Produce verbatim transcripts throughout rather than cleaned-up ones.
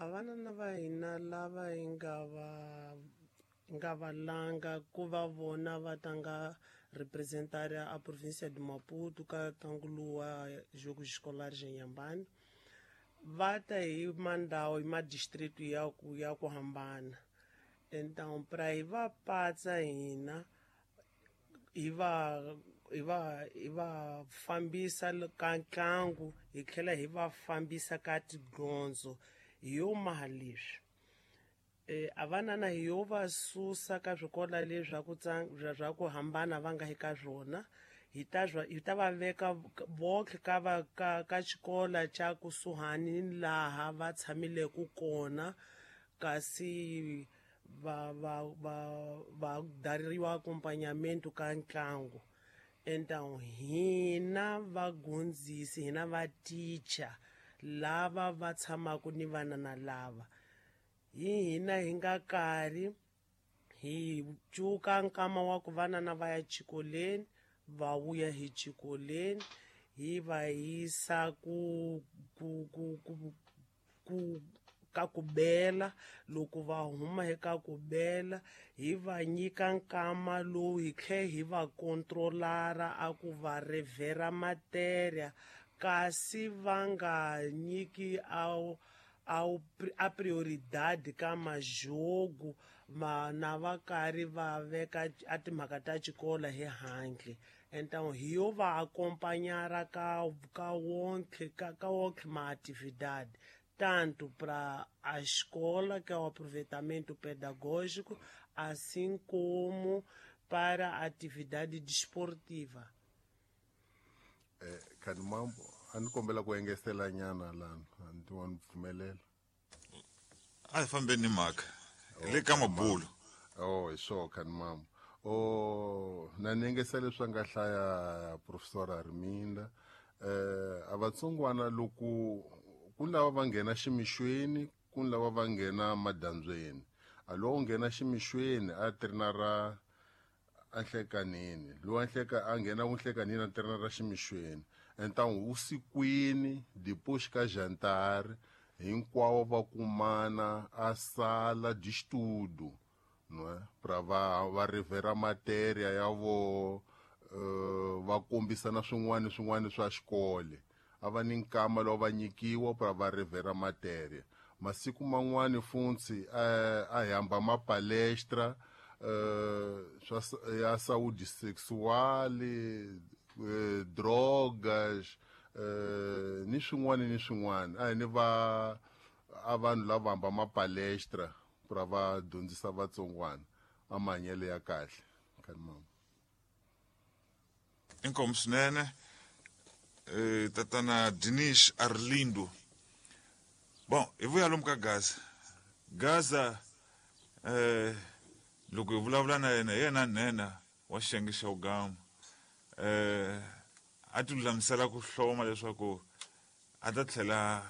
A vanana va hina lava hi nga va nga va langa ku va vona va tanga representar a província de Maputo ka ntlangu lowu wa Jogos Escolares eNyambani, va ta hi mandhawu hi madistrict ya ku ya ku hambana. Então pra hi va patsa hina hi va hi va hi va fambisa ka ntlangu, hi tlhela hi va fambisa ka tidyondzo, hi yo maha leswi. E, a vanana hi yo va susa ka swikolo leswi swa ku swa ku hambana va nga eka swona, hi ta hi ta va veka vonke ka va ka ka xikolo xa kusuhani ni laha va tshamileke kona, kasi va va va va dariwa acompanhamento ka ntlangu. Então hina vagondzisi, hina va teacher lava va tshamaka ni vanana lava, hi hina hi nga karhi hi cuka nkama wa ku vanana va ya xikolweni, va vuya hi xikolweni, hi va yisa ku ku ku ku ku ka ku bela. Loko va huma eka ku bela, hi va nyika nkama lowu hi tlhe hi va controlara a ku va revhera matéria, kasi va nga nyiki a a prioridade ka majogo ma na va karhi va veka a timhaka ta xikolo hi handle. Então hi yo va acompanhar ka ka wonke ka ka wonke ma atividade, tanto para a escola, que é o aproveitamento pedagógico, assim como para a atividade desportiva. Eh, Kanimambo, a ni kombela ku engetela nyana lana, a ni wa ni pfumelela. A hi fambeni ni mhaka le ka mabulo. Oh, hi swo Kanimambo. Oh, na ni engetela leswi a nga hlaya Professor Arminda. Eh, a vatsongwana loko ku lava va nghena ximixweni, ku lava va nghena madyambyeni. A lowu nghena ximixweni a trenara a nhlekanini, lowu a nhleka a nghena ku nhlekanini a trenara ximixweni. Então usikwini depois ka jantar hinkwavo va kumana a sala de estudo, não é? Pra va va revera matéria ya vo, uh, va kombisana swin'wana swin'wana swa xikolo. A va ni nkama lowu va nyikiwa pra va revera matéria. Masiku man'wani funtsi a hi hamba ma palestra, uh, swa ya saúde sexual, eh, drogas, eh, ni swin'wana ni swin'wana. A hi ni va a vanhu lava hamba ma palestra pra va dyondzisa vatsongwana a mahanyelo ya kahle. Kanimambo. Inkomu swinene. Eh, tatana Dinis Arlindo. Bom, hi vuya lomu ka Gaza. Gaza, eh, loko hi vulavula na yena, hi yena nhenha wa xiyenge xa Ugama. Eh, a ti lulamisela ku hloma leswaku a ta tlhela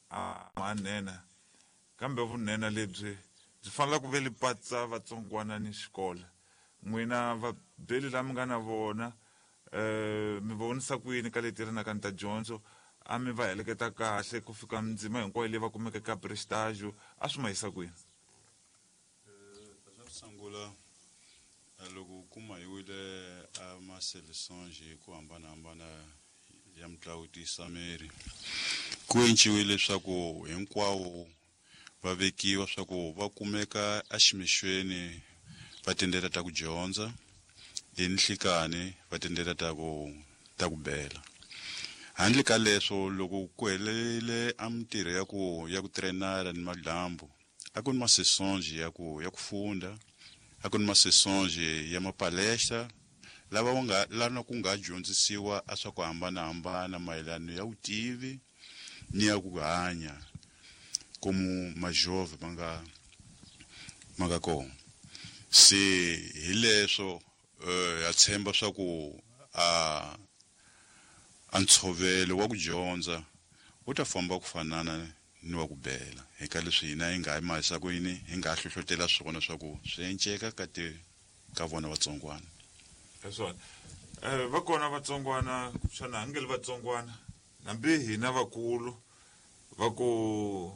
a nhenha, kambe vunhenha lebyi byi fanele ku ve li patsa vatsongwana ni xikolo. N'wina vabeli lava mi nga na vona, eh, mi vonisa ku yini ka leti ri na ka ni ta dyondzo? A mi va heleketa kahle ku fika mindzima hinkwayo leyi va kumeke ka prestágio, a swi ma yisa kwini? Eh, swa ku sungula, loko u kuma hi wile a ma seleções hi ku hambanahambana ya mitlangu tisameri, ku enciwile leswaku hinkwawo va vekiwa swa ku va kumeka eximixweni va tindlela ta ku dyondza, hi nhlikani va tindlela ta ku ta ku bela. Handle ka leswo, loko ku helele a mintirho ya ku ya ku trenara ni madyambu, a ku ni ma-sessões ya ku ya ku funda, a ku ni ma-sessões ya mapalestra lava va nga lana ku nga dyondzisiwa a swa ku hambanahambana mayelana ya vutivi ni ya ku hanya como majove ma nga ma nga kona. Se hi leswo, eh, ha tshemba swa ku a a ntshovelo wa ku dyondza wu ta famba ku fanana ni wa ku bela. Hi ka leswi hina hi nga mahisa ku yini, hi nga hlohlotela swona swa ku swi enceka ka ti ka vona vatsongwana. Hi swona. Eh, va kona vatsongwana, xana a nge li vatsongwana, hambi hina vakulu va ku